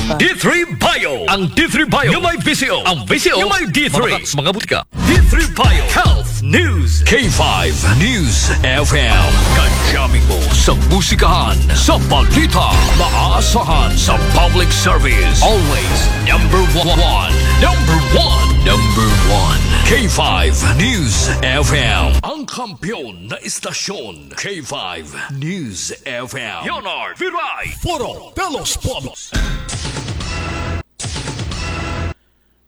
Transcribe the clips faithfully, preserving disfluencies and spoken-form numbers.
D three Bio. Ang D three Bio nga may V C O. Ang V C O nga may D three. Mga, mga butika. D three Bio Health News. K five News F M. Kadyamin mo sa musikahan, sa balita, maasahan sa public service. Always number one. Number one. Number one. K five News F M. Ang kampiyon na istasyon. K five News F M. Leonard Viray. Foro de los Pueblos.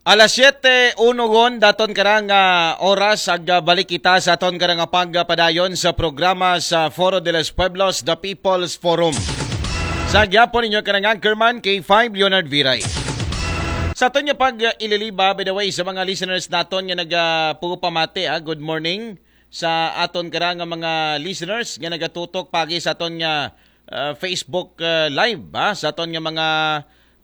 Alas siyete uno gon daton karang, ah, oras ag, ah, balik kita sa aton karang pagpadayon sa programa sa Foro de los Pueblos, The People's Forum. Sa gyapon ninyo karang anchorman, K five Leonard Viray. Sa aton nga pag, ah, ililiba, by the way, sa mga listeners naton nga nagapugupamati, ah, good morning sa aton karang mga listeners nga nagatutok pagi sa aton nga, ah, Facebook, ah, live, ah, sa aton nga mga,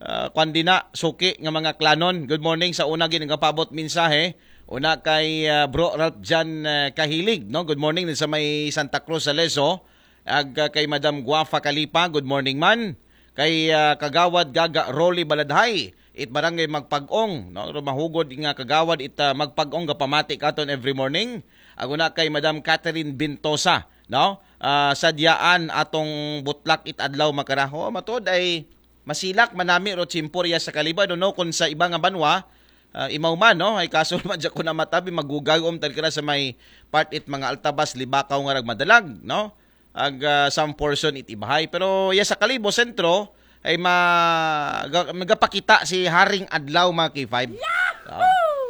ah, kwan dina, suki nga mga klanon. Good morning sa una gid nga paabot mensahe. Una kay, ah, Bro Ralph Jan, ah, Kahilig, no? Good morning din sa may Santa Cruz, Saleso. Ag, ah, kay Madam Guafa Kalipa, good morning man. Kay, ah, Kagawad Gaga Rolly Baladhay, it Barangay Magpag-ong, no? Rumahugod nga Kagawad it, ah, Magpag-ong gapamati katon every morning. Ag una kay Madam Catherine Bintosa, no? Ah, sadyaan atong butlak it adlaw makaraho. Matuod ay masilak manami ro tiyempo riya sa Kalibo, no, no, kung sa iba nga banwa, ah, imaw man, no? Ay kaso naman dyan ko na matabi, magugagom tal kira sa may part it mga Altabas, Libakaw nga ragmadalag, no? Ag, ah, some portion it ibahay. Pero ya sa Kalibo, sentro, ay ma-, ga-, magapakita si Haring Adlaw, mga K five.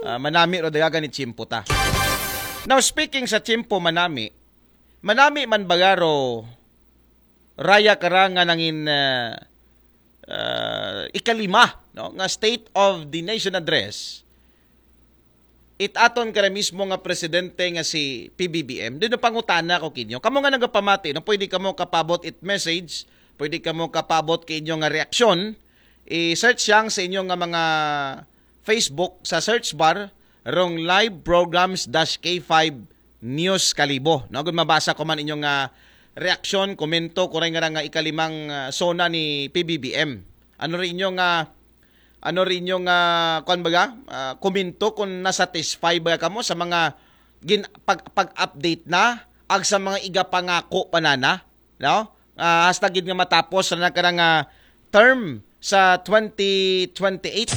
Ah, manami ro dagagan ni tiyempo ta. Now, speaking sa tiyempo manami, manami man bagaro raya karang nga nangin, ah, ah, ikalima, no, nga State of the Nation Address, it aton kara mismo nga presidente nga si P B B M. Dino pangutana ko kinyo. Kamo nga nagapamati, no, pwede kamo kapabot it message, pwede kamo kapabot kay inyo nga reaksyon. I-search yang sa inyo nga mga Facebook sa search bar, rong live programs dash K five News Kalibo. No, gud mabasa ko man inyong, ah, reaksyon, komento, kuray nga nga ikalimang, ah, sona ni P B B M. Ano rin inyong, ah, ano rin inyong, ah, kwan baga? Ah, komento kung nasatisfy ba kamo sa mga gin-, pag, pag-update na ag sa mga igapangako pa nana, no? Ah, hasta gid nga matapos na karang, ah, term sa twenty twenty-eight.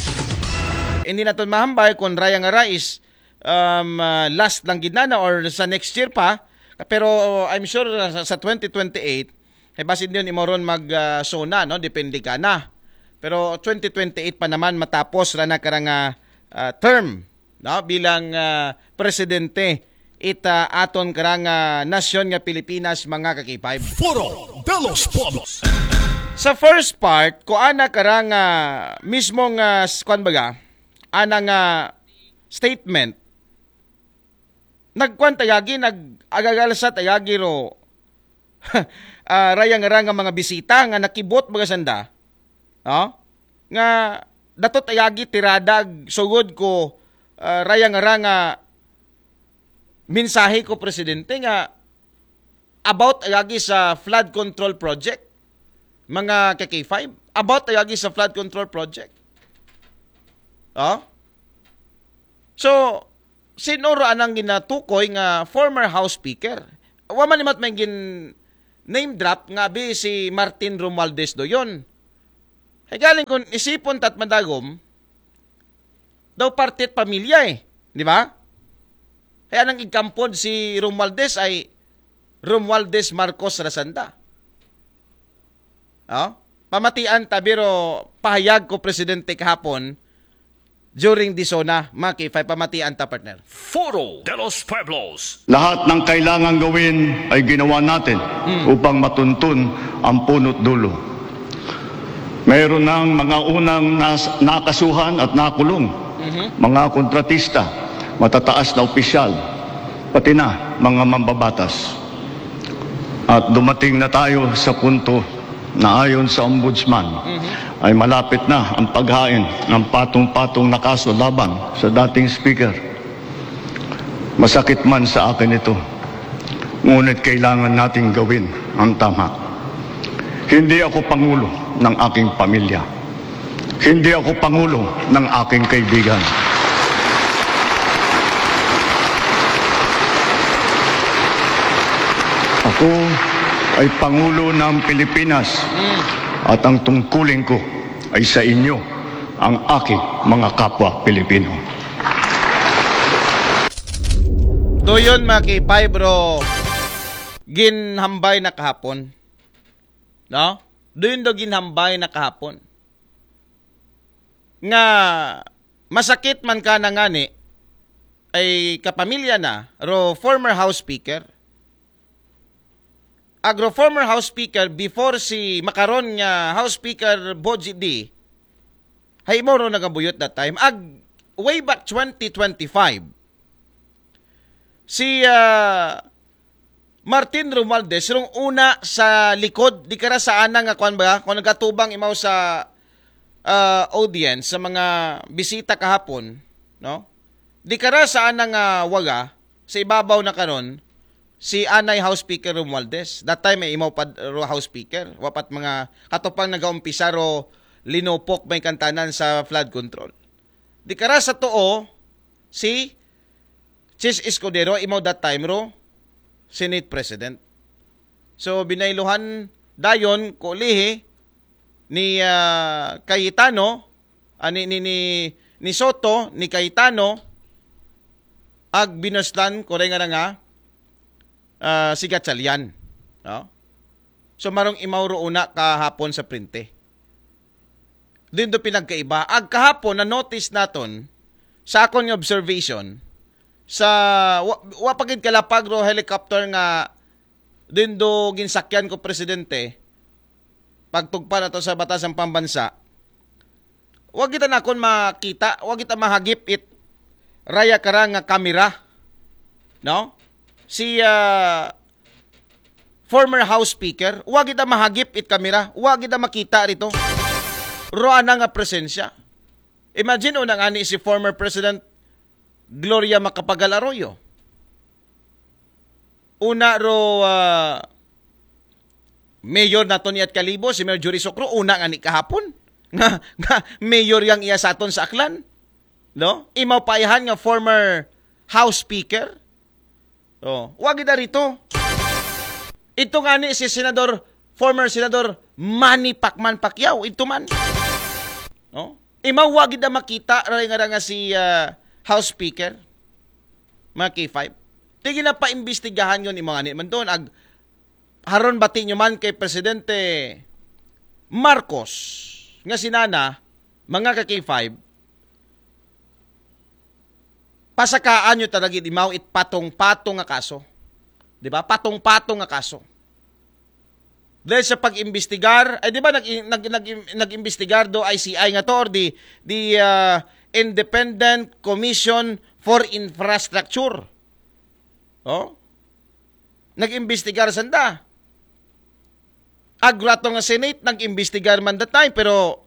Hindi naton mahambal kung raya nga ra is, um, ah, last lang gid na, na or sa next year pa. Pero I'm sure sa, sa twenty twenty-eight, eh, basin yun imo ron mag, ah, sona, no? Depende ka na. Pero twenty twenty-eight pa naman matapos ra na karang, ah, ah, term, no, bilang, ah, presidente it, ah, aton karang, ah, nasyon nga Pilipinas, mga ka-K five. Foro de los Pueblos. Sa first part, ko ana karang, ah, mismo nga, s-, kwan baga, ana nga statement, nagkwan tayagi, nag-agagalsa tayagi ro, ah, rayang-rang nga mga bisita nga nakibot baga sanda, no? Nga datot ayagi tirada ag sugod ko, ah, rayang-rang nga mensahe ko presidente nga about ayagi sa flood control project, mga ka-K five, about ayagi sa flood control project. Oh? So, sino ra anang ginatukoy nga former House Speaker? Wa man imat may gin name drop nga abi si Martin Romualdez do yon. Ay galing kung isipon tat madagom, daw partit pamilya eh. Di ba? Kaya nang igkampod si Romualdez ay Romualdez Marcos Rasanda. Oh? Pamatian ta, biro pahayag ko presidente kahapon during the sona, mga K five, pamatian ta, partner. Foro de los Pueblos. Lahat ng kailangan gawin ay ginawa natin upang matuntun ang puno't dulo. Mayroon ng mga unang nas-, nakasuhan at nakulong, mga kontratista, matataas na opisyal, pati na mga mambabatas. At dumating na tayo sa punto na ayon sa Ombudsman ay malapit na ang paghain ng patong-patong na kaso laban sa dating speaker. Masakit man sa akin ito, ngunit kailangan nating gawin ang tama. Hindi ako pangulo ng aking pamilya. Hindi ako pangulo ng aking kaibigan. Ako ay pangulo ng Pilipinas at ang tungkulin ko ay sa inyo, ang aking mga kapwa Pilipino. Doon, mga K five, bro, ginhambay na kahapon. No? Doon do ginhambay na kahapon. Nga masakit man ka na ngani, ay kapamilya na, ro former House Speaker. Agro former House Speaker before si makaron nga House Speaker Boji D, hay mo ro nagabuyot that time. Ag way back twenty twenty-five, si ah, Martin Romualdez, rong una sa likod, di kara sa ana nga kwan ba, kung nagatubang imaw sa ah, audience, sa mga bisita kahapon, no? Di kara sa ana nga waga, sa ibabaw na karon, si anay House Speaker Romualdez. That time, ay imaw pa ro House Speaker. Wapat mga katupang nagaumpisa ro linupok may kantanan sa flood control. Di kara sa tuo, si Chiz Escudero, imaw that time ro Senate President. So, binayluhan dayon ko lihi ni ah, Cayetano, ah, ni, ni, ni, ni Soto, ni Cayetano, ag binuslan ko rin nga nga ah, si Gatchalian. No? So, marong imaw ro una kahapon sa printe. Din do pinagkaiba. Ag kahapon, na-notice naton, sa akon nga observation, sa wa, wa pa gid kalapag ro helicopter nga din do ginsakyan ko presidente, pagtugpa nato sa batas ang pambansa, wa kita nakon makita, wa kita mahagip it raya kara nga kamera, no? Si ah, former House Speaker, wa kita mahagip it kamera, wa kita makita rito. Ro ana nga presensya. Imagine, unang ani si former President Gloria Macapagal Arroyo. Una ro ah, mayor naton ni at Kalibo, si Mayor Jury Socro, una nga ni kahapon. Nga, nga mayor yang iya sa aton sa Aklan. No? Imaw pa iyahan nga former House Speaker. Oh, wa gid rito. Ito nga ni si Senador, former Senador Manny Pacman Pacquiao, ito man. No? Imaw wa gid makita, ray nga nga si ah, House Speaker. Mga K five. Tig-, ginapaimbestigahan yon, imo nga ni man doon. Ag, haron bati nyo man kay Presidente Marcos, nga sinana, mga ka K five, pasakaan nyo talaga imaw it patong-patong nga kaso. Di ba? Patong-patong nga kaso. Dahil sa pag-imbestigar, ay, di ba, nag, nag, nag, nag-imbestigar do I C I nga to, or the, the ah, Independent Commission for Infrastructure. Oh? Nag-imbestigar sanda. Agrato nga Senate, nag-imbestigar man that time, pero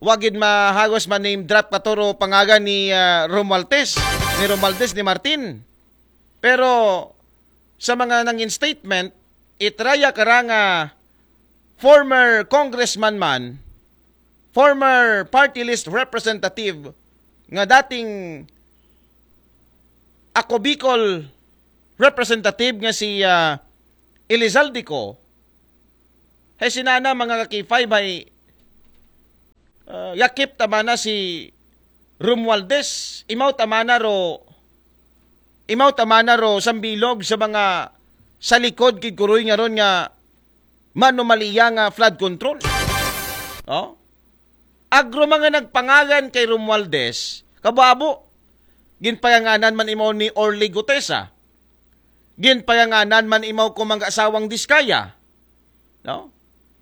wa gid mahagos man name drop katuro pangagan ni ah, Romualdez, ni Romualdez, ni Martin. Pero sa mga nangin statement, itraya kara nga former congressman man, former party list representative nga dating Ako Bicol representative nga si ah, Elizalde Co, hay sinana, mga ka K five, hay ah, yakip tamana si Romualdez, imaw tamana ro, imaw tamana ro sambilog sa mga sa likod kid kuroy nga ron nga manumaliya nga flood control. Oh? Agro mga nagpangagan kay Romualdez, kababo, ginpayanganan man imaw ni Orly Gutesa. Ginpayanganan man imaw ko mga asawang Diskaya. No?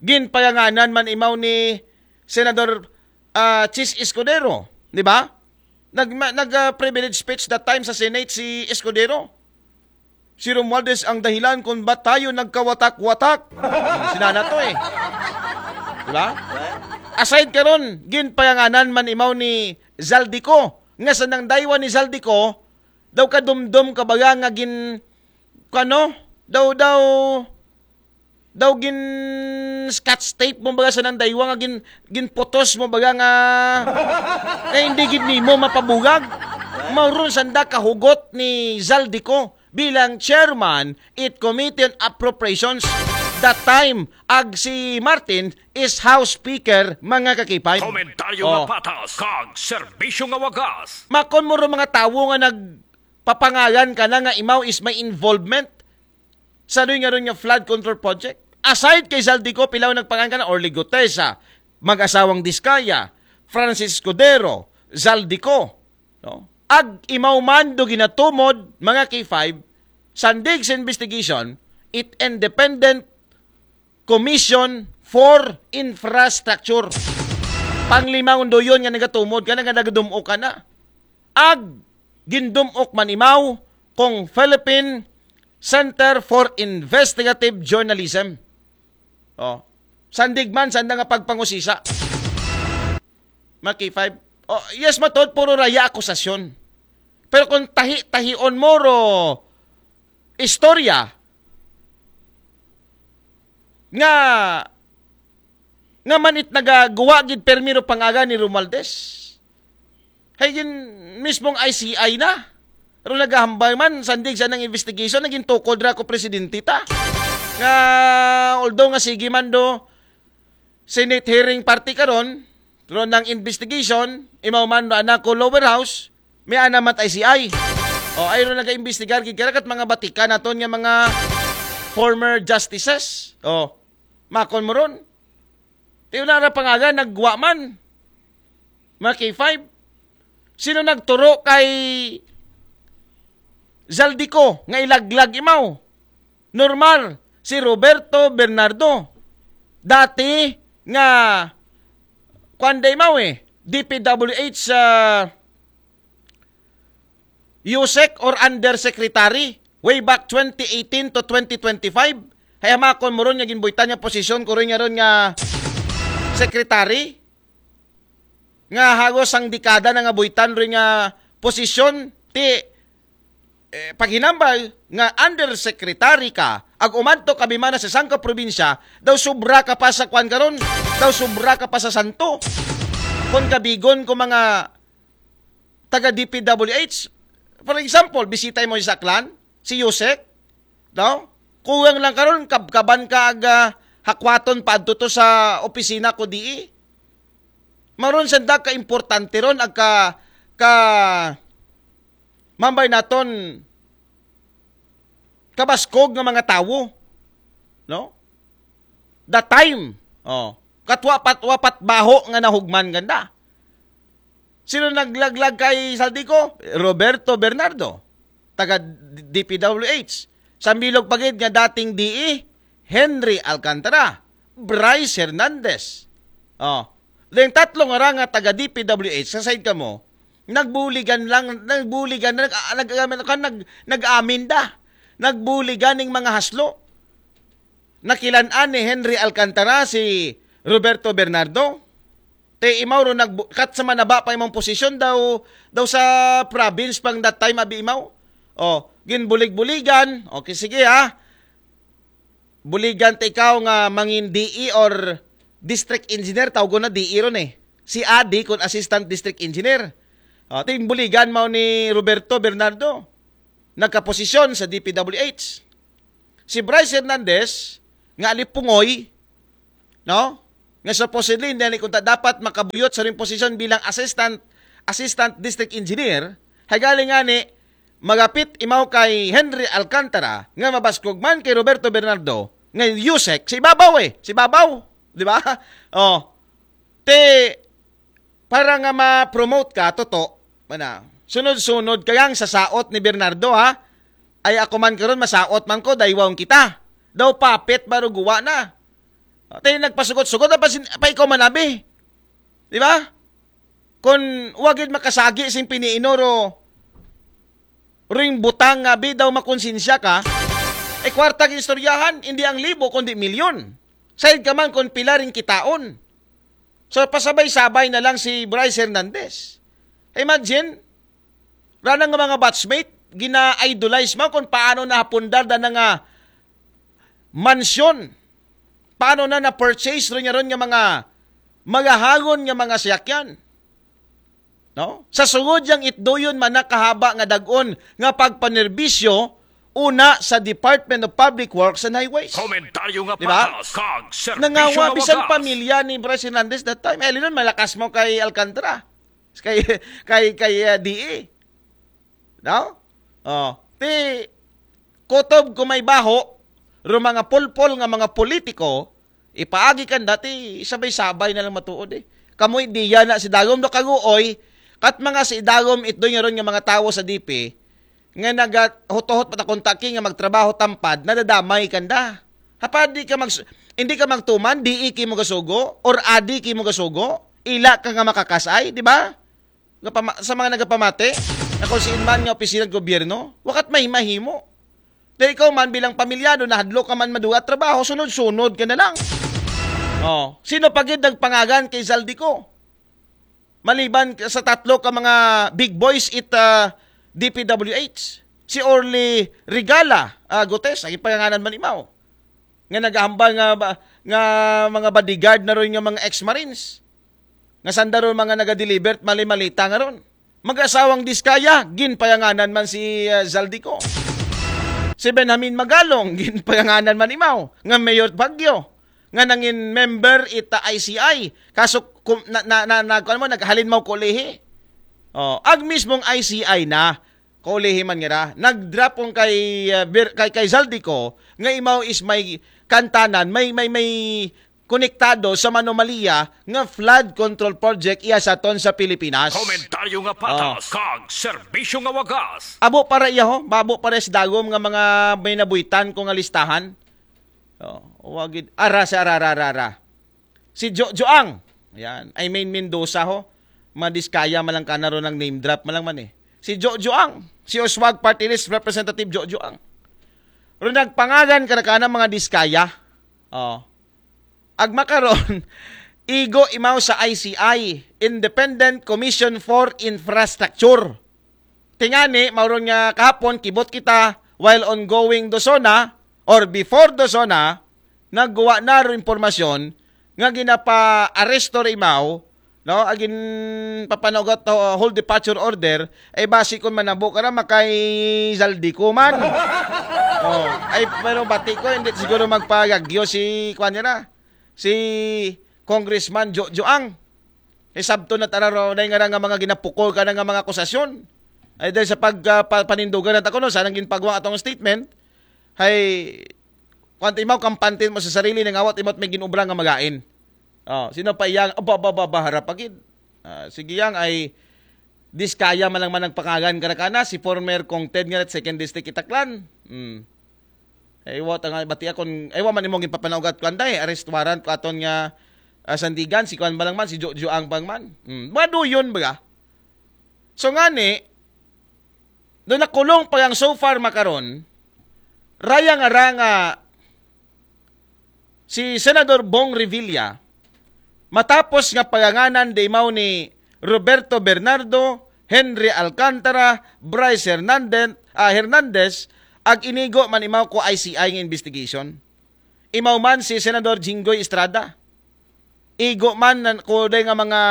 Ginpayanganan man imaw ni Senador ah, Chiz Escudero, di ba? Nag, ma- nag ah, privilege speech that time sa Senate si Escudero. Si Romualdez ang dahilan kung ba't tayo nagkawatak-watak. Sinana to eh. Di ba? Aside karon, ginpayanganan man imaw ni Zaldy Co, nga sa nang daywa ni Zaldy Co, daw kadumdum kabaga nga gin, kano? Daw, daw, Daw gin scotch tape mo baga sa nang daywa nga gin, ginputos mo baga nga, nga hindi gid nimo mapabugag. Mauron sanda kahugot ni Zaldico bilang chairman it Committee on Appropriations that time, ag si Martin is House Speaker, mga kakipay. Komentaryo nga patas kag serbisyo nga wagas. Makon mo ro mga tawo nga nagpapangalan ka na nga imaw is may involvement sa doy nga ron nga flood control project. Aside kay Zaldico, pilaw nagpangalan ka na, Orly Gutesa, mag-asawang Diskaya, Francis Escudero, Zaldico, no? Ag imaw man do ginatumod, mga K five, sandig sa investigation, it Independent Commission for Infrastructure. Panglimang undoyon nga nagatumod ka na, nga nagadumok ka na. Ag gindumok man imaw kung Philippine Center for Investigative Journalism. Oh. Sandig man, sanda nga pagpangusisa. Mga K five. Oh, yes, matod, puro raya akusasyon. Pero kung tahi-tahion mo ro istorya nga nga man it nagaguwa gid permi ro pangalan ni Romualdez. Hay gin mismong I C I na. Pero nagahambal man, sandig sa nang investigation, naging tukod ra ko presidente ta. Nga, although nga sige man do, Senate hearing party karon, pero nang investigation, imaw man do anak ko lower house, may ana mat I C I. O, ay ro naga-investigar gid karakat mga batikan naton nga mga former justices. O, makon mo ron. Tiyo na ra pangalan, nagwa man. Mga K five. Sino nagturo kay Zaldico nga ilaglag imaw? Normal, si Roberto Bernardo. Dati nga, kwan da imaw eh, D P W H sa USEC or undersecretary way back twenty eighteen to twenty twenty-five. Hay hamakon mo ron nga ginbuitan nga posisyon ko ron nga ron nga secretary nga hagos ang dekada na nga buitan ron nga posisyon ti eh, paghinambal nga undersecretary ka ag umadto ka bimana sa sangka probinsya daw sobra ka pa sa kwan karon, daw sobra ka pa sa santo. Kon kabigon ko mga taga D P W H, for example, bisita mo sa Aklan, si USEC, no? Kuwang lang karon kabkaban ka aga hakwaton paadto to sa opisina ko di. Maron sanda ka importante ron ag ka, ka mambay naton kabaskog nga mga tawo, no? The time, oh, katwa pat wapat baho nga nahugman ganda. Sino naglaglag kay Saldico? Roberto Bernardo, taga D P W H. Sambilog pagid nga dating D E, Henry Alcantara, Bryce Hernandez. Oh. Then tatlo nga ra nga taga D P W H sa side kamo, nagbuligan lang, nagbuligan, nag, nag, nag, nag, nag-amin da. Nagbuligan ning mga haslo. Nakilan-an ni Henry Alcantara si Roberto Bernardo. Te imaw ro nagbu- kat sa manaba pa imong posisyon daw daw sa province pang that time abi imaw. Oh, ginbulig-buligan. Okay, sige ha. Buligan ta ikaw nga mangin D E or district engineer, tawgon na D E ron eh. Si Adi kun assistant district engineer. Oh, ting buligan mao ni Roberto Bernardo. Nagkaposisyon sa D P W H. Si Bryce Hernandez nga alipungoy, no? Nga supposedly hindi ni kunta dapat makabuyot sa ring posisyon bilang assistant assistant district engineer, hay galing nga ni magapit imaw kay Henry Alcantara nga mabaskog man kay Roberto Bernardo nga USEC si babaw eh, si babaw, di ba? Oh. Te para nga ma-promote ka, toto, mana, sunod-sunod ka yang sa saot ni Bernardo, ha? Ay ako man karon masaot man ko, daywang kita. Daw papit baro guwa na. Tayo nagpasugot-sugot, pa, sin, pa ikaw manabi. Di ba? Kung wagid makasagi sing piniinoro, ring butang nga bi daw makonsensya ka, e kwarta istoryahan, hindi ang libo kundi milyon. Sayid ka man kung pila ring kitaon. So pasabay-sabay na lang si Bryce Hernandez. Imagine, ranang nga mga batchmate, gina-idolize mo kung paano nahapundar da na nga mansyon Paano na na-purchase ron niya ron nga mga magahagon nga mga siyakyan? No? Sa sugod yang itdoyon man na kahaba nga dagon nga pagpanerbisyo una sa Department of Public Works and Highways. Komentaryo nga Di ba? Patas kag serbisyo Nangawa nga bisan wagas. Pamilya ni Bryce Hernandez that time. Eh, linon, malakas mo kay Alcantara. Kay, kay, kay uh, D E. No? Oh. Ti, kutob ko may baho, ro mga pulpol nga mga politiko, ipaagi kan dati, sabay-sabay na lang matuod eh. Kamoy diya na si Dagom do Kaguoy, kat mga si Dagom itdo nga ron nga mga tawo sa D P, nga nagahutohot patakontaki nga magtrabaho tampad, nadadamay kanda. Hapa di ka mag, hindi ka magtuman, di iki mo gasugo, or adi ki mo gasugo, ila ka nga makakasay, di ba? Nga pama- sa mga nagapamati, na kung siin man nga opisina ng gobyerno, wakat may mahimo. Dahil ikaw man bilang pamilyado, nahadlo ka man maduwa trabaho, sunod-sunod ka na lang. Oh, sino pa gid nagpangagan kay Zaldy Co? Maliban sa tatlo ka mga big boys it uh, D P W H, si Orly Regala uh, Gutes, ang ipanganan man imaw, nga nagahambal nga, ba- nga mga bodyguard na ron nga mga ex-marines. Nga sanda ron mga nagadeliver, mali-malita nga ron. Mag-asawang Diskaya, ginpayanganan man si uh, Zaldy Co. Si Benjamin Magalong, ginpayanganan man imaw, nga mayor Baguio, nga nangin member ita I C I. Kaso, kum, na, na, na, na, kuwan mo, naghalin mo kulihi. Oh, ag mismong I C I na, kulihi man nga ra, nag-drop kong kay, uh, Bir- kay, kay Zaldy Co, nga imaw is may kantanan, may, may, may konektado sa manomalia nga flood control project iya sa ton sa Pilipinas. Komentaryo nga Patas kag serbisyo nga wagas. Abo para iya ho, babo para si Dagom nga mga may nabuitan ko nga listahan. Oh, wagid ara sa ara, ara, ara, ara. Si Jo Joang. Yan. I mean Mendoza ho. Madiskaya malang ka na ron ng name drop malang man eh. Si Jo Joang. Si Oswag Party List Representative Jo Joang. Ron nagpangagan ka na ka ng mga diskaya. Oh. Ag makaron, igo imaw sa I C I, Independent Commission for Infrastructure. Tingani, mauron nga kahapon, kibot kita, while ongoing do SONA, or before do SONA, nagguwa na ro impormasyon nga ginapa-aresto ri imaw, no? Agin papanugat to, hold departure order, ay basi kun manabo ka ra makay Zaldy Co man. Oh, ay pero bati ko hindi siguro magpagagyo si kuan nira. Si Congressman Jo Joang. Isabto na tararo na nga nga mga ginapukol ka na nga mga akusasyon. Ay dahil sa pag uh, pa- panindugan na takuno sa nang ginpagwang atong statement, hay kung imaw kampantin mo sa sarili nga awat imot may ginubra nga magain. Oh, sino pa iyang aba ba ba ba harap agid. Ah, sige yang ay diskaya man lang man nagpangagan ka na kana si former Kong Ted nga second district Itaklan. Hmm. Ay wa ta nga bati akon ay wa man imong ipapanaugat kuan day arrest warrant ko aton nga ah, sandigan si kuan ba lang man si Jo Joang pang man. Hmm. Maduyon ba? So ngani do nakulong pa yang so far makaron raya nga ra nga si Senador Bong Revilla matapos nga paganganan de imaw ni Roberto Bernardo, Henry Alcantara, Bryce Hernandez, ah, Hernandez, ag inigo man imaw ko I C I nga investigation. Imaw man si Senador Jinggoy Estrada. Igo man nan kuday nga mga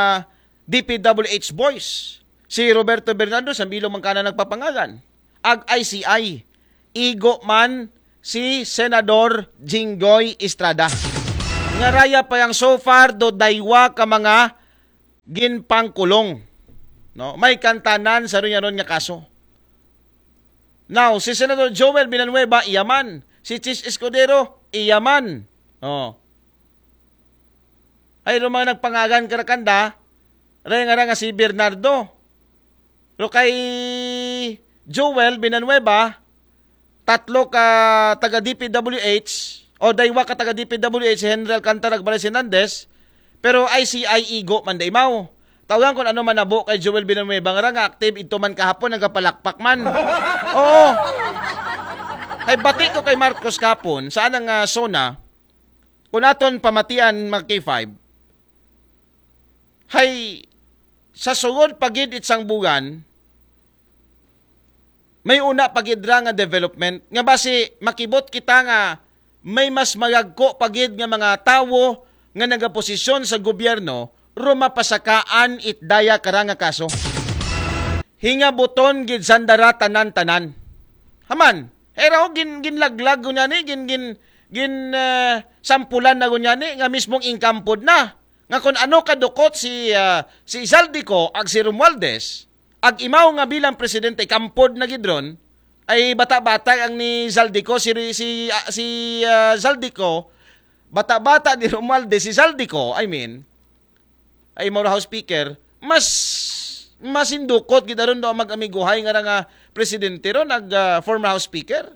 D P W H boys. Si Roberto Bernardo sa bilog man kana nagpapangalan. Ag I C I. Igo man si Senador Jinggoy Estrada. Nga raya pa yang so far do daywa ka mga ginpangkulong. No? May kantanan sa ron nga kaso. Now, si Senador Joel Villanueva, iyaman. Si Chiz Escudero, iyaman. Oh. Ay, ro mga nagpangagan karakanda, ray nga ra nga si Bernardo. Ro kay Joel Villanueva, tatlo ka taga D P W H, o daywa ka taga D P W H, si Henry Alcantara ug Bryce Hernandez, pero I C I igo man da imaw. Tawagan kung ano man nabo kay Joel Villanueva nga ra nga active ito man kahapon nagapalakpak man. Oo. Hay bati ko kay Marcos kapon, saan ang uh, SONA, kung aton pamatian mga K five, hay sa sugod pagid itsang bugan, may una pagid ra nga development nga basi makibot kita nga may mas magagko pa gid nga mga tawo nga nagaposisyon sa gobyerno, rumapasakaan it daya kara nga kaso. Hingabuton gid sanda ra tanan-tanan. Haman, era o gin, ginlaglag ko niya ni, gin, gin, gin, ah, sampulan na ko niya ni, nga mismong inkampod na. Nga kung ano kadukot si, ah, si Zaldico ag si Romualdez, ag imaw nga bilang presidente, kampod na gid ron, ay bata-bata ang ni Zaldico, si, si, ah, si, ah, Zaldico, bata-bata ni Romualdez, si Zaldico, I mean, ay imaw ra House Speaker, mas, mas indukot gid aron do mag-amiguhay nga ra nga presidente ron, ag, ah, former House Speaker.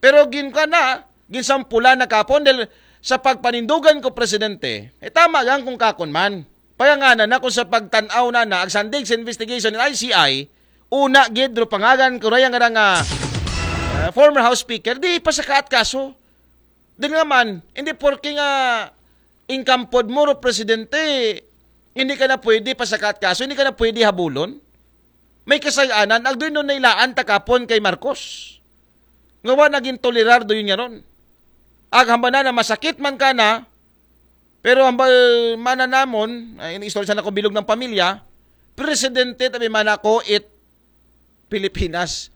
Pero gin ka na, ginsampulan na kapon dahil sa pagpanindugan ko presidente, eh tama lang kung kakon man. Payangana na kung sa pagtanaw na na, agsandig sa investigation ng I C I, una gid ro pangalan ko raya nga nga, ah, former House Speaker, di pa sa kaat kaso. Din nga man, hindi porke nga inkampod mo ro presidente, hindi ka na pwede pa sa kaat kaso, hindi ka na pwede habulon. May kasayaanan, agdoy no nailaan takapon kay Marcos. Nga wa naging tolerar do yun nga ron. Ag hambal na na masakit man ka na, pero hambal mana namon, ay, istorya na ko bilog ng pamilya, presidente tabi man ako it Pilipinas,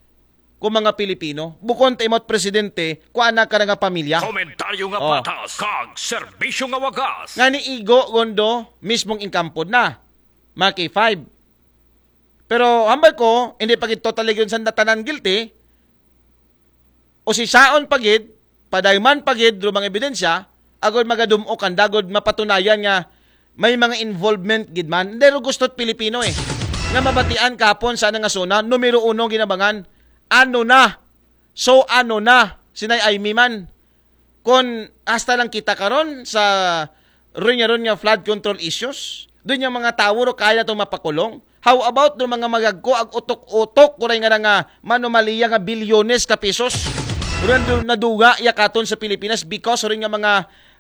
kung mga Pilipino. Bukon ta imot presidente, kung anak ka nga pamilya. Komentaryo nga Oh. patas, kag serbisyo nga wagas. Nga ni Igo Gondo, mismong inkampod na. Mga K five. Pero hambal ko, hindi pa gid totally yun sa tanan guilty. O si Saon pa gid, padayman pa gid, ro mga ebidensya, agod magadumok ang dagod mapatunayan nga may mga involvement gid man. Hindi ro gusto't Pilipino eh. Nga mabatian kapon sa nga suna, numero uno ginabangan. Ano na? So ano na? Sinay ay man. Kung hasta lang kita karon sa ron nga ron nga flood control issues, doon yung mga tawo ro kaya na itong mapakulong. How about do mga magagko ag utok-utok kuray nga nga manumaliya nga bilyones ka pesos? Ron do naduga ya katon sa Pilipinas because ron nga mga,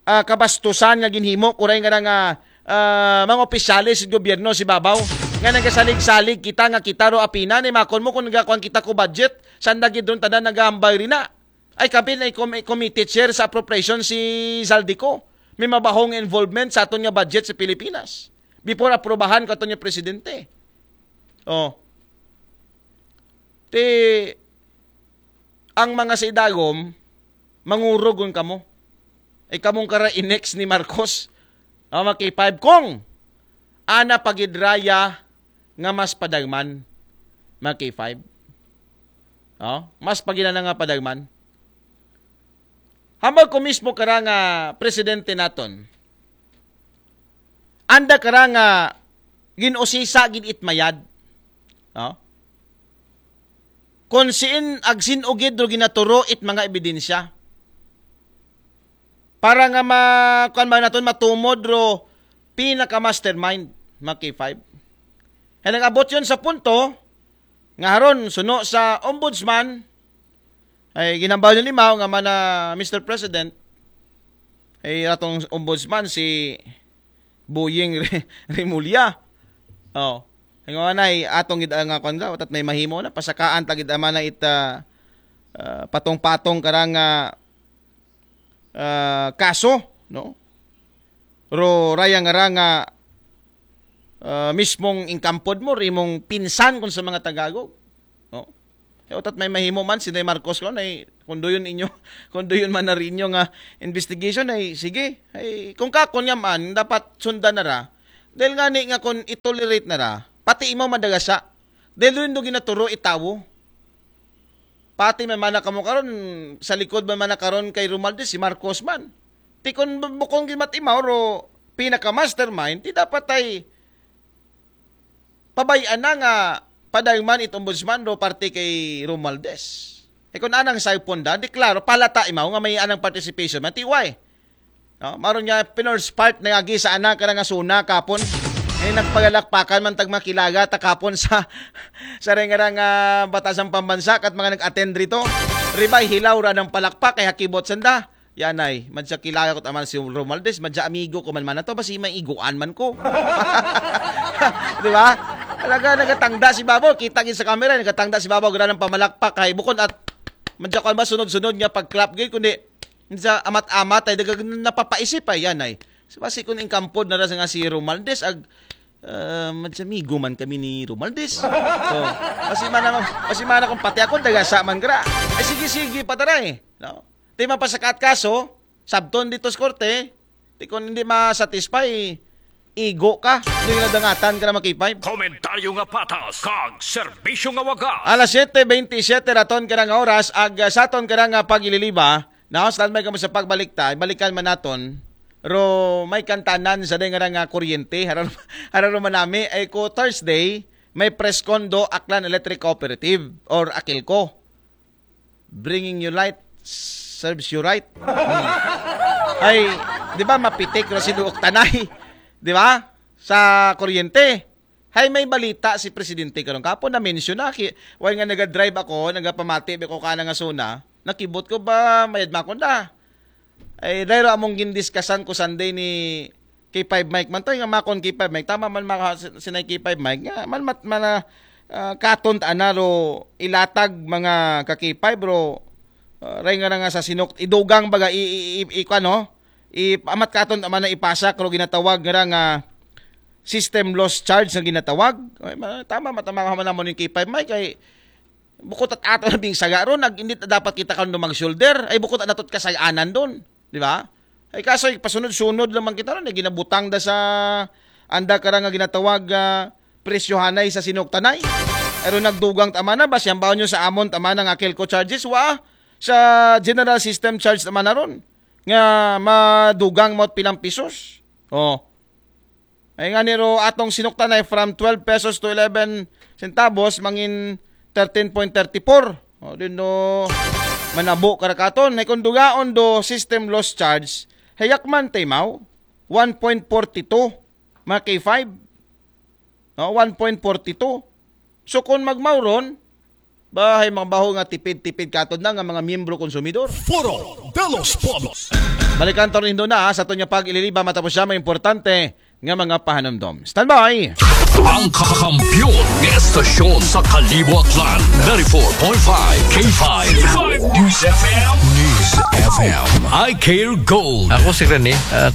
ah, kabastusan nga ginhimo kuray nga nga, ah, mga opisyales sa gobyerno si babaw nga nagasalig-salig kita nga kita ro apina ni makon mo kung nagakuan kita ko budget sanda gid ron tanan nagahambay rin na. Ay, kami na com-, committee chair sa appropriation si Zaldico. May mabahong involvement sa aton nga budget sa Pilipinas. Before aprobahan ko aton nga presidente. Oh. Ti, ang mga sa idagom, mangurugon kamo. Ay, kamong kara inex ni Marcos. Ah, mga K five. Kung, ana pagidraya nga mas padagman, mga K five. Oh, mas paginana nga padagman. Hambal ko mismo kara nga presidente naton. Anda kara nga ginusisa gid itmayad. No? Kung siin agsin ugid ro ginaturo it mga ebidensya. Para nga ma, kuan ba naton matumod ro pinaka mastermind mga K five. Kaya nag-abot yun sa punto nga haron suno sa ombudsman, ay ginambaw ni Mao nga mana Mister President, ay atong ombudsman si Boying Re-, Remulla. Oh. Ang mga nay, atong gid nga kwan daw, tat may mahimo na, pasakaan ta gid ama na ita, ah, patong-patong karang, ah, ah, kaso, no? Ro raya nga ra nga, ah, mismong inkampod mo, rimong pinsan kun sa mga Tagalog. No? E, utat may mahimo man, si Nay Marcos ko, nay, kung doon inyo, kung doon man na rin nga investigation, ay sige. Ay, kung kakon nga man, dapat sundan na ra. Dahil nga ni nga kung itolerate na ra, pati imo madagasa. Dahil doon do ginaturo itawo. Pati man mana kamo karon, sa likod man mana karon kay Romualdez, si Marcos man. Ti kung bu-, bukong gimat imaw, ro pinaka-mastermind, ti dapat ay pabay-an na nga padayman it ombudsman ro parte kay Romualdez. E kung anang cellphone da, di klaro, palata imaw nga may anang participation man, ti why? No? Maron nga, pinurse part na agi sa anak ka nga suna kapon. E nagpagalakpakan man tag makilaga ta kapon sa, sa ring-, rang, ah, Batasang Pambansa kat mga nag-attend rito. Ribay, hilaw ra ng palakpak, kay hakibot sanda. Yan ay, madya kilala ko taman si Romualdez, madya amigo ko man man na to, basi may iguan man ko. Di ba? Talaga, nagatangda si Babaw, kita gid sa camera, nagatangda si Babaw, gra ng pamalakpak, kay bukon at madya ko ba sunod-sunod nga pag-clap gid, kundi Sa amat-amat ay daga napapaisip ay yan ay. So, basi kun ingkampod na ra sa nga si Romualdez ag, ah, madsamigo man kami ni Romualdez. So, basi man, basi man akong pati ako, dagasa man gra. Ay, sige, sige, pataray. No? Di mapasakaat kaso, sabton dito sa korte, di kun hindi ma-satisfy, igo ka, hindi na dangatan ka na makipay. Komentaryo nga patas, kag serbisyo nga wagas. Alas siyete bentisiete raton ka nga oras, ag, ah, sa aton ka nga pag-ililiba, now, standby kamo sa pagbalik ta, balikan man naton. Ro, may kantanan sa day nga nga kuryente, hararo, hararo man nami, ay ko Thursday, may press con do Aklan Electric Cooperative or Akilco. Bringing you light serves you right. Hmm. Ay, di ba mapitik ro si Duok Tanay? Di ba? Sa kuryente. Hay, may balita si Presidente karon. Kapo na-mention na. Ki, while nga naga-drive ako, nagapamati ba ko ka na nga zona, nakibot ko ba, mayad makon da. Ay, dahil among gindiskasan ko Sunday ni K five Mike man to, nga makon K five Mike, tama man maka, sinay K five Mike, nga man mat, man, ah, katon ta ana ro ilatag mga ka K five, bro. Ah, ray nga na nga sa sinok, idugang baga, i, i, i, i, kuwan, no? I, amat katon ta man na ipasak ro ginatawag nga ra nga system loss charge nga ginatawag. Ay, ma, tama, matama ka man namon yung K five Mike, kay bukod at ato na bing saga ron, nag, hindi ta dapat kita kano mag-shoulder, ay bukod at natot kasaganan doon, di ba? Ay kaso, pasunod-sunod lamang kita ron, ay ginabutang da sa anda kara nga ginatawag, ah, presyohanay sa sinoktanay. Pero nagdugang tama na, ba siyang baon nyo sa amon tama na nga Kelco charges, wa, sa general system charge tama na ron. Nga madugang mo pilang pisos. Oh. Ay nga niro atong sinuktan ay from twelve pesos to eleven centavos, mangin thirteen point thirty four. O, din do manabo karakaton. Ay kung dugaon do system loss charge, hayak man taymaw, one point forty two, mga K five. No, one point forty two. So kung magmauron, bahay mga baho nga tipid-tipid katod na nga mga miyembro konsumidor. Foro de los Pueblos. Balikan to rin na sa aton nga pag-ililiba matapos siya mga importante nga mga pahanumdom. Standby! Ang kakampiyon ng estasyon sa Kalibo Aklan, ninety-four point five K five News F M. News F M. I Care Gold. Ako si Rene, ah,